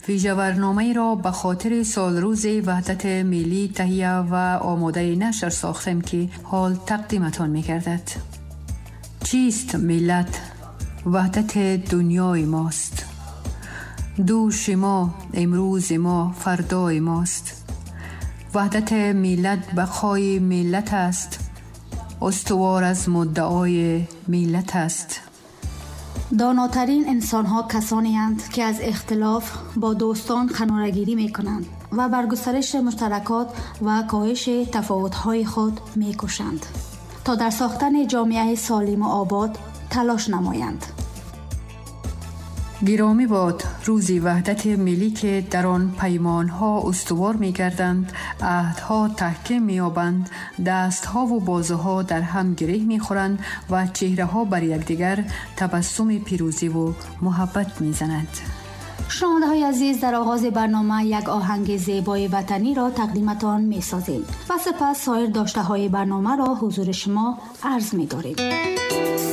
Вижабарномаеро ба хотири солрӯзи ваҳдати миллӣ таҳия ва омодаи нашр сохтем, ки ҳол тақдиматон мегардад. Чист миллат? Ваҳдати дунёи мост. Дӯши мо, имрӯзи мо, фардои мост. Ваҳдати миллат бақои миллат аст. Устувор аз муддаои миллат аст. Донотарин инсонҳо касонеанд, ки аз ихтилоф бо дӯстон канорагирӣ мекунанд ва бар густариши муштаракот ва коҳиши тафовутҳои худ мекӯшанд, то дар сохтани ҷомеаи солиму обод талош намоянд. Гиромӣ бод рӯзи ваҳдати миллӣ, ки дар он паймонҳо устувор мегарданд, аҳдҳо таҳким меёбанд, дастҳову бозуҳо дар ҳам гиреҳ мехӯранд ва чеҳраҳо бар якдигар табассуми пирӯзиву муҳаббат мезанад. Шунавандаҳои азиз, дар оғози барнома як оҳанги зебои ватаниро тақдиматон месозем ва сипас соир доштаҳои барномаро ҳузури шумо арз медорем.